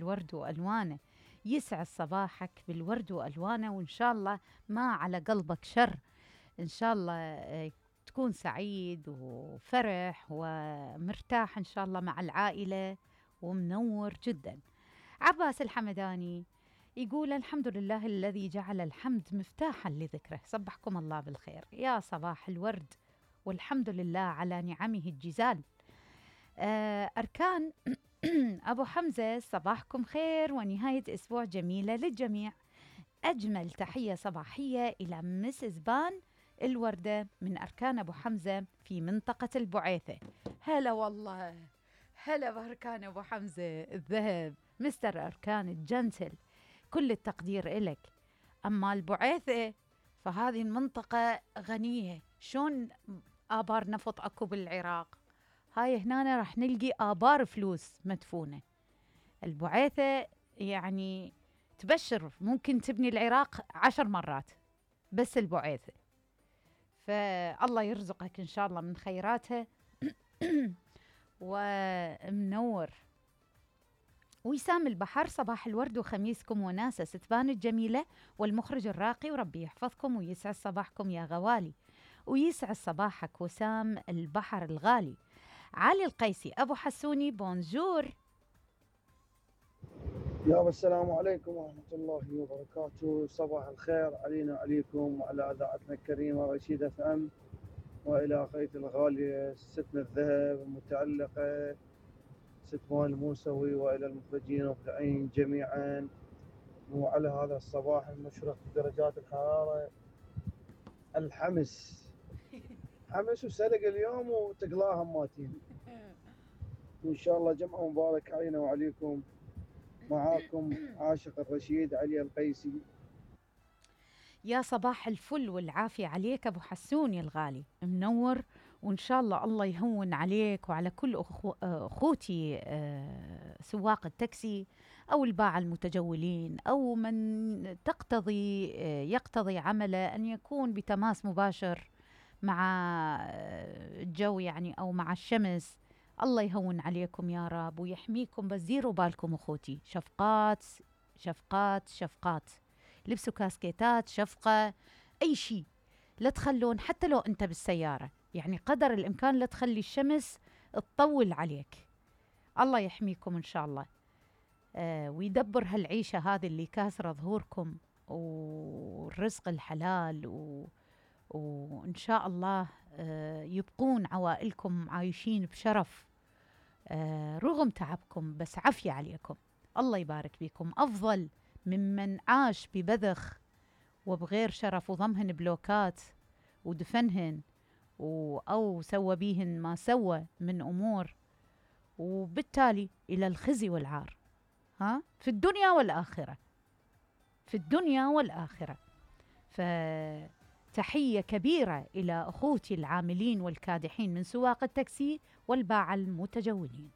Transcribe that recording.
الورد وألوانه. يسعد صباحك بالورد وألوانه، وإن شاء الله ما على قلبك شر. إن شاء الله تكون سعيد وفرح ومرتاح إن شاء الله مع العائلة ومنور جدا. عباس الحمداني يقول: الحمد لله الذي جعل الحمد مفتاحا لذكره. صبحكم الله بالخير، يا صباح الورد، والحمد لله على نعمه الجزال. أركان أبو حمزة، صباحكم خير ونهاية أسبوع جميلة للجميع. أجمل تحية صباحية إلى مسز بان الوردة من أركان أبو حمزة في منطقة البعيثة. هلا والله، هلا بأركان أبو حمزة الذهب، مستر أركان الجنتل، كل التقدير إلك. أما البعيثة فهذه المنطقة غنية، شون آبار نفط أكو بالعراق، هاي هنا راح نلقي آبار فلوس مدفونة. البعيثة يعني تبشر، ممكن تبني العراق 10 مرات بس البعيثة. فالله يرزقك إن شاء الله من خيراتها ومنور. وسام البحر، صباح الورد وخميسكم وناسة ستبان الجميلة والمخرج الراقي، وربي يحفظكم ويسعد صباحكم يا غوالي. ويسعد صباحك وسام البحر الغالي. علي القيسي أبو حسوني، بونجور. يا السلام عليكم ورحمة الله وبركاته. صباح الخير علينا وعليكم وعلى إذاعتنا الكريمة رشيد اف ام، وإلى أخيتي الغالية ستنا الذهب المتعلقة ست مال الموسوي، وإلى المخرجين والمبدعين جميعا، وعلى هذا الصباح المشرق بدرجات الحرارة الحمس حمس وسلق اليوم وتقلاها ماتين. وإن شاء الله جمعة مبارك علينا وعليكم. معاكم عاشق الرشيد علي القيسي. يا صباح الفل والعافية عليك أبو حسوني الغالي، منور. وإن شاء الله الله يهون عليك وعلى كل أخوتي سواق التاكسي أو الباعة المتجولين أو من يقتضي عمله أن يكون بتماس مباشر مع الجو يعني أو مع الشمس. الله يهون عليكم يا رب ويحميكم، بس ديروا بالكم أخوتي، شفقات شفقات شفقات، لبسوا كاسكيتات شفقة، أي شيء لا تخلون، حتى لو أنت بالسيارة يعني قدر الإمكان لا تخلي الشمس تطول عليك. الله يحميكم إن شاء الله ويدبر هالعيشة هذه اللي كاسرة ظهوركم، والرزق الحلال وإن شاء الله يبقون عوائلكم عايشين بشرف رغم تعبكم، بس عافية عليكم. الله يبارك بكم، أفضل ممن عاش ببذخ وبغير شرف وضمهن بلوكات ودفنهن أو سوى بيهن ما سوى من أمور، وبالتالي إلى الخزي والعار في الدنيا والآخرة، في الدنيا والآخرة. فتحية كبيرة إلى أخوتي العاملين والكادحين من سواق التاكسي والباعة المتجولين.